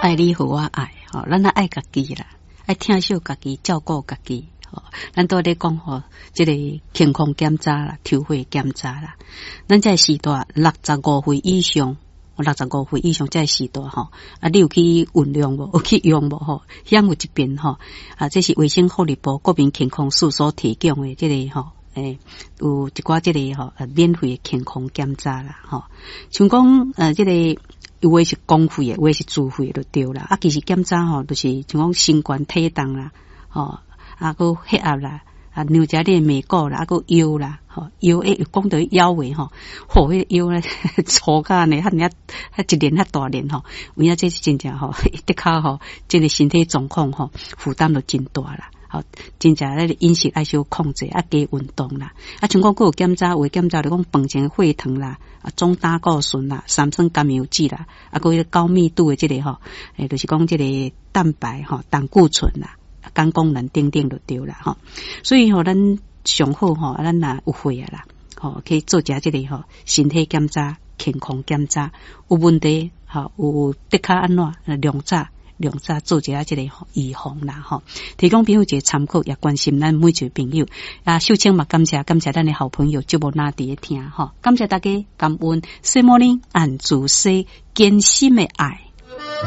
愛你予我愛，吼，咱愛家己啦，愛疼惜家己，照顧家己。吼，咱都咧講吼，這個健康檢查啦，抽血檢查啦，咱這個時代六十五歲以上，六十五歲以上這個時代吼，啊，你有去運用無？有去用無？吼，遐有一遍吼，啊，這是衛生福利部國民健康署所提供的這個吼。欸，有一寡這個吼，免費的健康檢查啦，吼，像講這個有的是公費的，有的是自費的就對啦。啊，其實檢查吼，就是像講身懸體重啦，吼，啊，閣血壓啦，啊，量一下你的眉骨啦，啊，閣腰啦，吼，腰欸，講到腰圍吼，吼，彼個腰咧粗甲按呢，遐爾遐一連遐大連吼，有影這是真正吼，的確吼，這個身體狀況吼，負擔就真大啦。吼，真正咧飲食愛小控制，啊，加運動啦。啊，像講閣有檢查，有的檢查就講飯前血糖啦，啊，總膽固醇啦，三酸甘油酯啦，啊，閣彼個高密度的這個吼，欸，就是講這個蛋白吼，膽固醇啦，肝功能等等就對啦吼。所以吼，咱上好吼，啊，咱若有血啊啦，吼，去做一下這個吼，身體檢查、健康檢查，有問題吼，有的確按怎量早。量早做一下這個預防啦，吼，提供朋友一個參考，也關心咱每一位朋友。啊，秀清嘛，感謝感謝咱的好朋友，節目哪佇咧聽，吼，感謝大家，感恩。小魔女按主說，堅心的愛。